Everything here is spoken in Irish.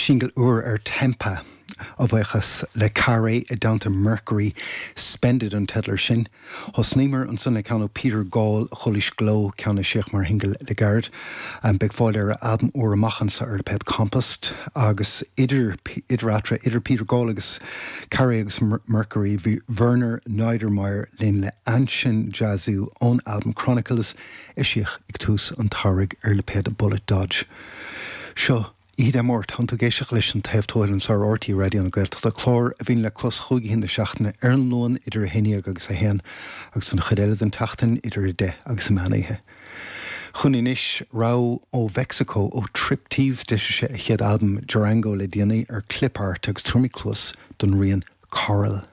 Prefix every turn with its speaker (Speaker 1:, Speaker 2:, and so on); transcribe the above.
Speaker 1: Singil úr ar Tempa, a bhuíochas le Carré i dteannta Mercury, Spend It an teideal air sin. Thosnaíomar ansan le ceann ó Peter Gall, Chualaís Gleo, ceann a eisíodh mar shingil le gairid. Beidh fáil ar a albam úr amach anso ar lipéad Compost. Agus idir idir eatarthu, idir Peter Gall agus Carré agus Mercury, bhí Werner Niedermair linn le Ansin Jesu ón albam Chronicles, Eisíodh ag tús an tsamhraidh ar lipéad Bullet Dodge. Seo Oíche Dé Máirt, tánn tú ag éisteacht leis An Taobh Tuathail anseo ar RTÉ Raidió na Gaeltachta, clár a bhíonn le clos chúig oíche na seachtaine ar an Luan idir 11 agus 1 agus an chuid eile den tseachtain idir 10 agus an meán oíche. Chugainn anois, rogha ó Mheicsiceo ó Triptease, d'eisigh sé a chéad albam Durango le déanaí ar Clipart agus tabharfaimid cluas don rian Coral.